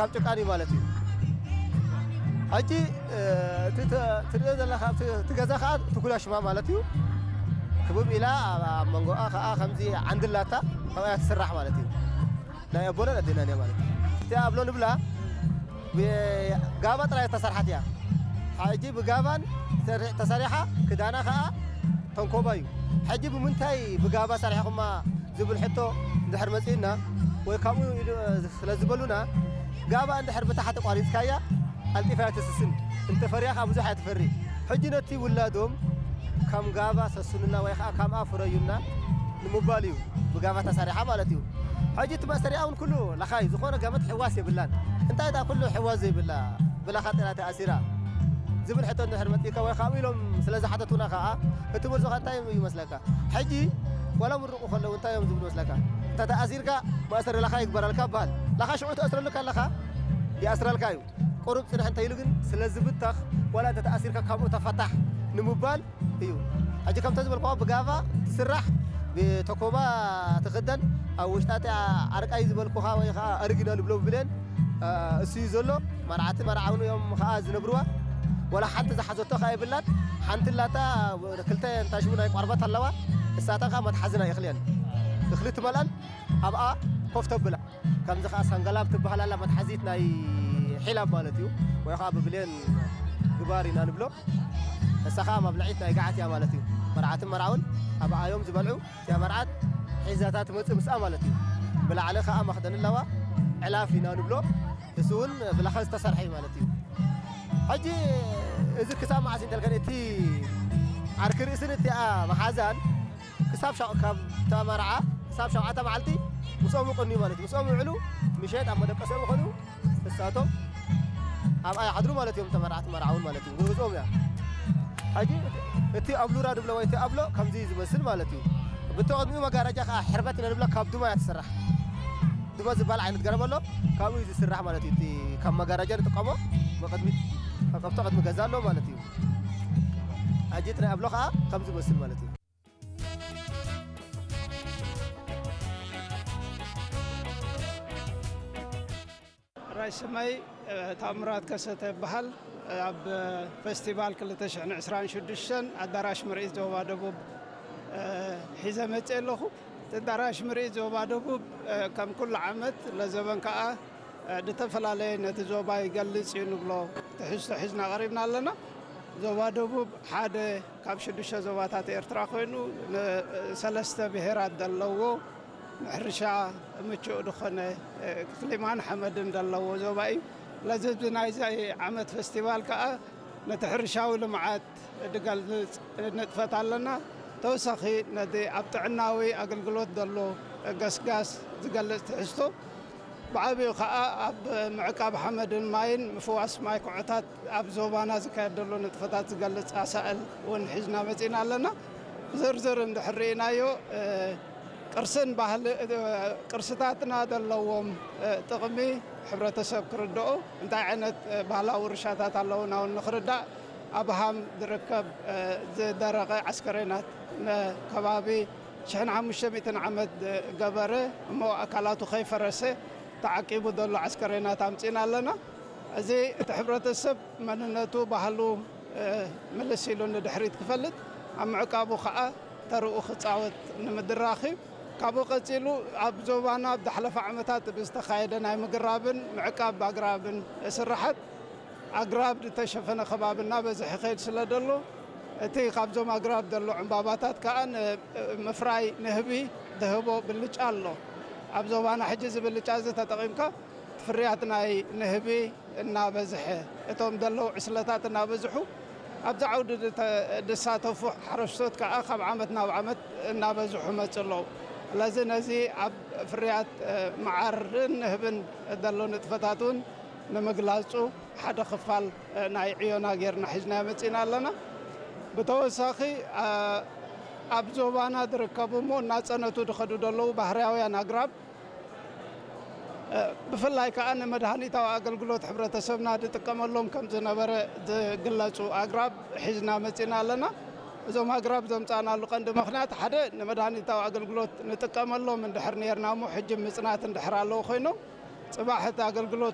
ካብ ጭቃን እዩ ማለት እዩ። ሕጂ እቲ ትርእዮ ዘለካ እቲ ገዛ ከዓ ትኩላ ሽማ ማለት እዩ። ክብብ ኢላ ኣብ መንጎኣ ከዓ ከምዚ ዓንድላታ ካብያ ትስራሕ ማለት እዩ። ናይ ኣቦና ኣዴናን እያ ማለት እዩ። እቲኣ ኣብሎ ንብላ ብጋባ ጥራይ ዝተሰርሓት እያ። ሕጂ ብጋባን ተሰሪሓ ክዳና ከዓ ተንኮባ እዩ። ሕጂ ብምንታይ ብጋባ ሰሪሕኹማ ዝብል ሕቶ እንድሕር መጺኡና ወይ ካብኡ ስለ ዝበሉና ጋባ እንድሕር ብታሕቲ ቋሪጽካያ ቀልጢፋ እያ ትስስን። እንተፈርያ ከዓ ብዙሕ እያ ትፈሪ። ሕጂ ነቲ ውላዶም ከም ጋባ ሰስኑና ወይ ከዓ ከምኣ ፍረዩና ንምባል እዩ። ብጋባ ተሰሪሓ ማለት እዩ። ሕጂ እቲ መእሰሪያ እውን ኩሉ ለኻይ ዝኾነ ገመት ሕዋስ የብላን። እንታይ እታ ኩሉ ሕዋስ ዘይብላ ብላኻ ጥራ ተኣሲራ ዝብል ሕቶ እንድሕር መፂእካ ወይ ካብኡ ኢሎም ስለ ዝሓተቱና ከዓ እቲ መልሶ ከዓ እንታይ ይመስለካ? ሕጂ ዋላ ምርቑ ከለዉ እንታይ እዮም ዝብሉ መስለካ? እንተ ተኣሲርካ መእሰሪ ለኻ ይግበረልካ ይበሃል። ለኻ ሽዑ ተእስረሉ ከለኻ ይኣስረልካ እዩ። ቁሩብ ጽንሕ እንተ ኢሉ ግን ስለ ዝብተኽ ዋላ እንተ ተኣሲርካ ካብኡ ተፈታሕ ንምባል እዩ። ሕጂ ከምተ ዝበልኩኻ ብጋባ ትስራሕ፣ ብተኮባ ትኽደን፣ ኣብ ውሽጣ እቲ ዓርቃይ ዝበልኩኻ ወይ ከዓ ኣርጊና ንብሎ ብብሌን እሱ እዩ ዘሎ። መርዓትን መርዓውን እዮም ከዓ ዝነብርዋ። ወላ ሓንቲ ዝሓዘቶ ከዓ የብላን። ሓንቲ ላታ ክልተ እንታሽቡ ናይ ቆርበት ኣለዋ። እሳተን ከዓ መትሓዝና ይኽልየን። እኽሊ ትመልኣን ኣብኣ ኮፍ ተብላ። ከምዚ ከዓ ሰንገላብ ትበሃል ኣላ መትሓዚት ናይ ሒላብ ማለት እዩ። ወይ ከዓ ብብሌን ግባር ኢና ንብሎ። እሳ ከዓ መብልዒት ናይ ገዓት እያ ማለት እዩ። መርዓትን መርዓውን ኣብኣ እዮም ዝበልዑ። እቲኣ መርዓት ሒዛታ ትመጽእ ምስኣ ማለት እዩ። ብላዕሊ ከዓ መኽደን ኣለዋ። ዕላፍ ኢና ንብሎ። እሱ እውን ብላኻ ዝተሰርሐ እዩ ማለት እዩ። ሕጂ እዚ ክሳብ መዓስ እንተልከን እቲ ዓርኪ ርእስን እቲኣ መሓዛን ክሳብ ሻ- ካብ ተመርዓ ክሳብ ሸውዓተ መዓልቲ ምስኦም ይቕንዩ ማለት እዩ። ምስኦም ይውዕሉ፣ ምሸት ኣብ መደቀሲኦም ይኾኑ፣ እሳቶም ኣብኣ ይሓድሩ ማለት እዮም። ተመርዓቲ መርዓውን ማለት እዩ። ግብዞም እያ። ሕጂ እቲ ኣብሉራ ድብሎ ወይ እቲ ኣብሎ ከምዚ እዩ ዝመስል ማለት እዩ። ብቲ ቅድሚኡ መጋረጃ ከዓ ሕርበት ኢና ንብሎ፣ ካብ ዱማ እያ ትስራሕ። ዱማ ዝበሃል ዓይነት ገረብ ኣሎ፣ ካብኡ እዩ ዝስራሕ ማለት እዩ። እቲ ካብ መጋረጃ ንጥቀሞ ብቅድሚት ኣብ ቅድሚ ገዛ ኣሎ ማለት እዩ። ሕጂ እቲ ናይ ኣብሎ ከዓ ከምዚ ይመስል ማለት እዩ። ራይ ስመይ ታምራት ከሰተ ይበሃል። ኣብ ፈስቲቫል ክልተ ሽሕን ዕስራን ሽዱሽተን ኣዳራሽ ምርኢት ዞባ ደቡብ ሒዘ መፅእ ኣለኹ። እቲ ኣዳራሽ ምርኢት ዞባ ደቡብ ከም ኩሉ ዓመት ለዘበን ከዓ ዝተፈላለየ ነቲ ዞባ ይገልፅ እዩ ንብሎ ትሕዝቶ ሒዝና ቀሪብና ኣለና። ዞባ ደቡብ ሓደ ካብ ሽዱሽተ ዞባታት ኤርትራ ኮይኑ ሰለስተ ብሄራት ዘለዎ ንሕርሻ ምቹእ ዝኾነ ክሊማን ሓመድን ዘለዎ ዞባ እዩ። ለዚ ናይዚ ዓመት ፈስቲቫል ከዓ ነቲ ሕርሻዊ ልምዓት ዝገልፅ ንጥፈት ኣለና። ተወሳኺ ነቲ ኣብ ጥዕናዊ ኣገልግሎት ዘሎ ገስጋስ ዝገልፅ ትሕዝቶ ብዓብዩ ከዓ ኣብ ምዕቃብ ሓመድን ማይን ምፍዋስ ማይ ኩዖታት ኣብ ዞባና ዝካየድ ዘሎ ንጥፈታት ዝገልፅ ኣሳእል እውን ሒዝና መፂና ኣለና። ብዝርዝር እንድሕር ርኢናዮ ቅርስን ባህል ቅርስታትና ዘለዎም ጥቕሚ ሕብረተሰብ ክርድኦ እንታይ ዓይነት ባህላዊ ውርሻታት ኣለውና እውን ንክርዳእ ኣብ ሃም ዝርከብ ዝደረቐ ዓስከሬናት ንከባቢ ሽሕን ሓሙሽተ ሚእትን ዓመት ዝገበረ እሞ ኣካላቱ ከይፈረሰ ተዓቂቡ ዘሎ ዓስከሬናት ኣምፂና ኣለና። እዚ እቲ ሕብረተሰብ መንነቱ ባህሉ ምልስ ኢሉ ንድሕሪት ክፈልጥ ኣብ ምዕቃቡ ከዓ ተርኡ ክፃወት ንምድራኽ እዩ። ካብኡ ቀፂሉ ኣብ ዞባና ኣብ ዝሓለፈ ዓመታት ብዝተኻየደ ናይ ምግራብን ምዕቃብ ኣግራብን ስራሓት ኣግራብ ዝተሸፈነ ከባቢ እናበዝሐ ይኸይድ ስለ ዘሎ እቲ ካብዞም ኣግራብ ዘሎ ዕምባባታት ከዓ ንምፍራይ ንህቢ ዝህቦ ብልጫ ኣሎ። ኣብ ዞባና ሕጂ እዚ ብልጫ እዚ ተጠቒምካ እቲ ፍርያት ናይ ንህቢ እናበዝሐ እቶም ዘለዉ ዕስለታት እናበዝሑ ኣብዚ ዓውዲ ዝሳተፉ ሓረስቶት ከዓ ካብ ዓመት ናብ ዓመት እናበዝሑ መፁ ኣለዉ። ስለዚ ነዚ ኣብ ፍርያት መዓርን ንህብን ዘሎ ንጥፈታት እውን ንምግላፁ ሓደ ክፋል ናይ ዕዮና ጌርና ሒዝና መፂና ኣለና። ብተወሳኺ ኣብ ዞባና ዝርከቡ እሞ እናፀነቱ ዝኸዱ ዘለዉ ባህርያውያን ኣግራብ ብፍላይ ከዓ ንመድሃኒታዊ ኣገልግሎት ሕብረተሰብና ዝጥቀመሎም ከም ዝነበረ ዝግለፁ ኣግራብ ሒዝና መፂና ኣለና። እዞም ኣግራብ ዘምፃእናሉ ቀንዲ ምኽንያት ሓደ ንመድሃኒታዊ ኣገልግሎት ንጥቀመሎም እንድሕር ነርና እሞ ሕጂ ምፅናት እንድሕር ኣለዉ ኮይኖም ፅባሕ እቲ ኣገልግሎት